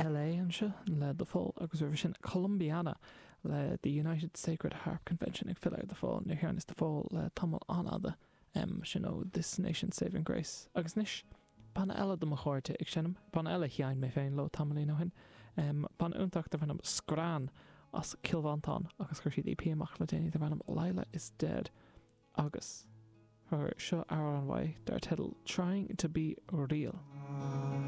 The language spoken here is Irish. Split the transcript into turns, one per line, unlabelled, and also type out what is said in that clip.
LA anseo le The Fall agus roimhe sin Columbiana le The United Sacred Harp Convention ag filleadh ar The Fall. Níor sheinneas The Fall le tamall an-fhada, sin ó This Nation's Saving Grace. Agus anois, banna eile de mo chairde ag seinm, banna eile a sheinn mé féin leo tamaillín ó shin, banna iontach darb ainm Scran as Cill Mhantáin agus chuir siad EP amach le déanaí darb ainm Lila is Dead. Agus seo amhrán uaidh dar teideal Trying to be Real.